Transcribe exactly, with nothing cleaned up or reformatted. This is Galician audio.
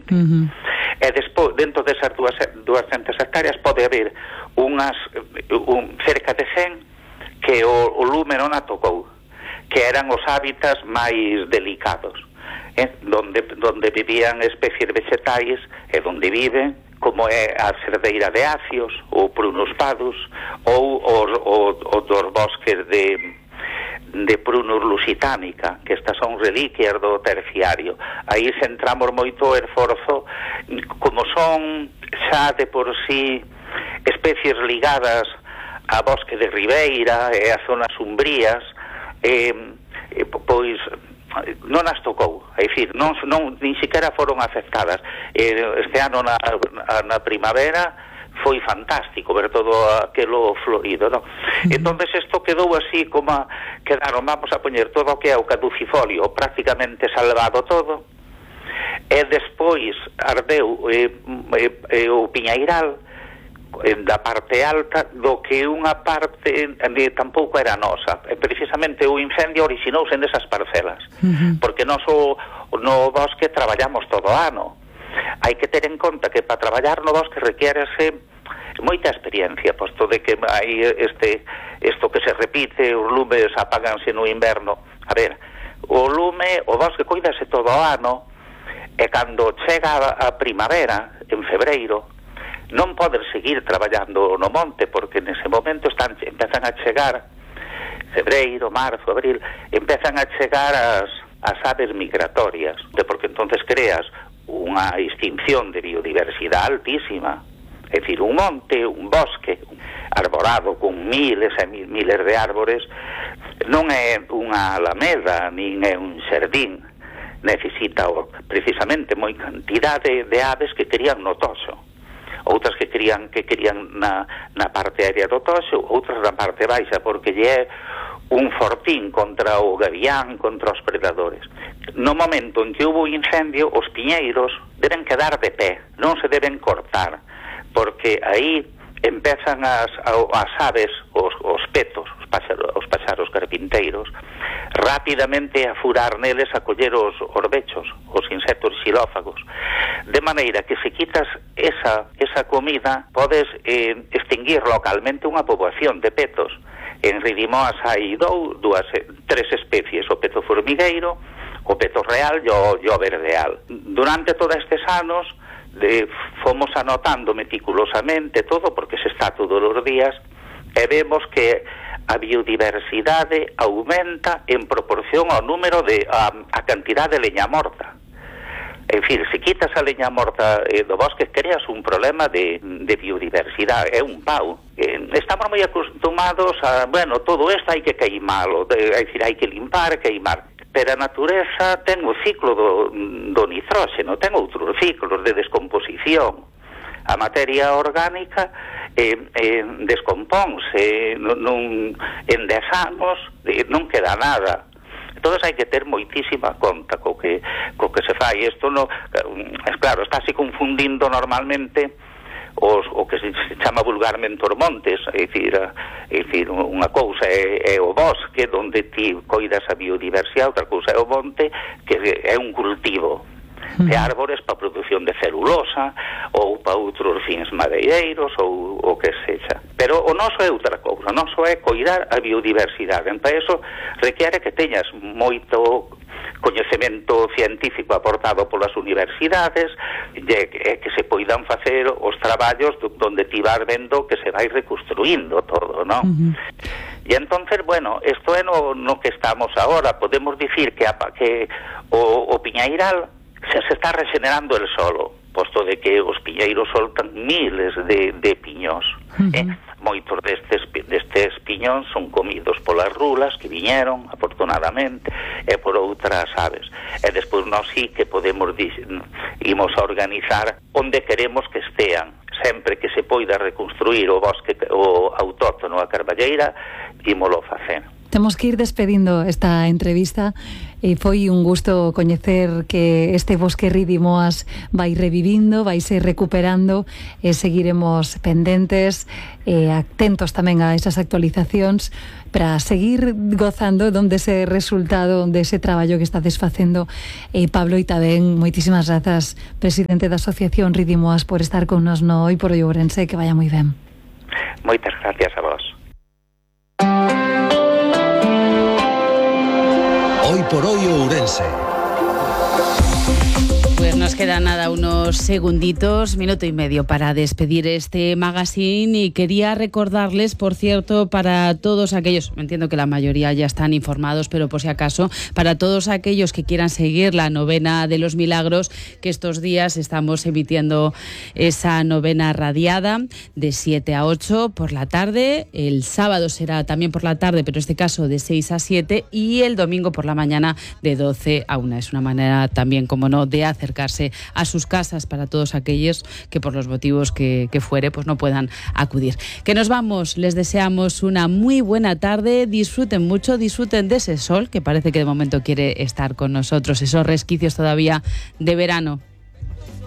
monte. Uh-huh. E despois, dentro desas duascentas hectáreas pode haber unhas un, cerca de cen que o, o lume non a tocou, que eran os hábitats máis delicados, eh? donde, donde vivían especies vegetais e donde viven, como é a cerdeira de acios ou prunus padus ou os, os, os dos bosques de de Prunus lusitanica, que estas son reliquias do terciario. Aí centramos moito o esforzo, como son xa de por sí especies ligadas a bosque de ribeira e a zonas umbrías, eh, eh, pois non as tocou, é dicir, non, non, nin siquiera foron afectadas. Eh, este ano na, na primavera foi fantástico ver todo aquelo florido, non? Uh-huh. Entonces isto quedou así como a, quedaron, vamos a poñer todo o que é o caducifolio prácticamente salvado todo, e despois ardeu eh, eh, o piñeiral eh, da parte alta, do que unha parte eh, tampouco era nosa, e precisamente o incendio originouse nesas parcelas, uh-huh. porque nós o, no bosque traballamos todo o ano. Hai que ter en conta que para traballar no bosque requiérese moita experiencia, posto de que hai este isto que se repite, os lumes apáganse no inverno. A ver, o lume, o bosque coídase todo o ano, e cando chega a primavera, en febreiro, non podes seguir traballando no monte, porque nese momento están, empezan a chegar febreiro, marzo, abril, empezan a chegar as, as aves migratorias, porque entonces creas unha extinción de biodiversidade altísima. É dicir, un monte, un bosque arborado con miles e miles de árbores non é unha alameda, nin é un xardín. Necesita precisamente moi cantidade de aves que crían no toxo, outras que crían que crían na, na parte aérea do toxo, outras na parte baixa, porque lle é un fortín contra o gavián, contra os predadores. No momento en que hubo incendio, os piñeiros deben quedar de pé, non se deben cortar, porque aí empezan as, as aves, os, os petos, os páxaros, os páxaros carpinteiros, rapidamente a furar neles, a coller os orbechos, os insectos xilófagos, de maneira que se quitas esa, esa comida, podes eh, extinguir localmente unha poboación de petos. En Ridimoas hai dous, dúas, tres especies, o peto formigueiro, o peto real e o, e o verdeal. Durante todos estes anos de, fomos anotando meticulosamente todo, porque se está todos os días, e vemos que a biodiversidade aumenta en proporción ao número de a, a cantidade de leña morta. É dicir, se quitas a leña morta eh, do bosque, creas un problema de, de biodiversidade, é un pau. Eh, estamos moi acostumados a, bueno, todo isto hai que queimalo, é dicir, hai que limpar, queimar. Pero a natureza ten o ciclo do, do nitróxeno, ten outros ciclos de descomposición. A materia orgánica eh, eh, descompónse, non, non, en dez anos eh, non queda nada. Entón hai que ter moitísima conta co que, co que se fai. Isto no, é claro, estáse confundindo normalmente os, o que se chama vulgarmente os montes, é dicir, é dicir unha cousa é, é o bosque, onde ti coidas a biodiversidade, outra cousa é o monte, que é un cultivo de árbores para a produción de celulosa ou para outros fins madeireiros ou o que sexa. Pero o noso é outra cousa, o noso é coidar a biodiversidade. Para eso requiere que teñas moito coñecemento científico aportado polas universidades e que, que se poidan facer os traballos donde ti vas vendo que se vai reconstruindo todo, non? Uh-huh. E entonces, bueno, isto é no, no que estamos agora. Podemos dicir que, a, que o, o piñeiral se, se está regenerando el solo, posto de que os piñeiros soltan miles de, de piñós. Uh-huh. eh? Moitos destes, destes piñóns son comidos polas rulas que viñeron, afortunadamente, e por outras aves. E despois nós sí que podemos imos a organizar onde queremos que estean. Sempre que se poida reconstruir o bosque o autóctono a carballeira, ímolo facer. Temos que ir despedindo esta entrevista. E foi un gusto coñecer que este bosque Ridimoas vai revivindo, vai se recuperando, e seguiremos pendentes e atentos tamén a esas actualizacións para seguir gozando donde ese resultado, onde ese traballo que estades facendo. E Pablo, e tamén moitísimas grazas, presidente da Asociación Ridimoas, por estar con nos no Hoy por Hoy Ourense, que vaya moi ben. Moitas gracias a vos. Hoy por Hoy Ourense. Pues nos queda nada, unos segunditos, minuto y medio para despedir este magazine, y quería recordarles, por cierto, para todos aquellos, entiendo que la mayoría ya están informados, pero por si acaso, para todos aquellos que quieran seguir la novena de los milagros, que estos días estamos emitiendo esa novena radiada de siete a ocho por la tarde, el sábado será también por la tarde, pero en este caso de seis a siete, y el domingo por la mañana de doce a una. Es una manera también, como no, de hacer acercarse a sus casas para todos aquellos que por los motivos que, que fuere pues no puedan acudir. Que nos vamos, les deseamos una muy buena tarde, disfruten mucho, disfruten de ese sol que parece que de momento quiere estar con nosotros, esos resquicios todavía de verano.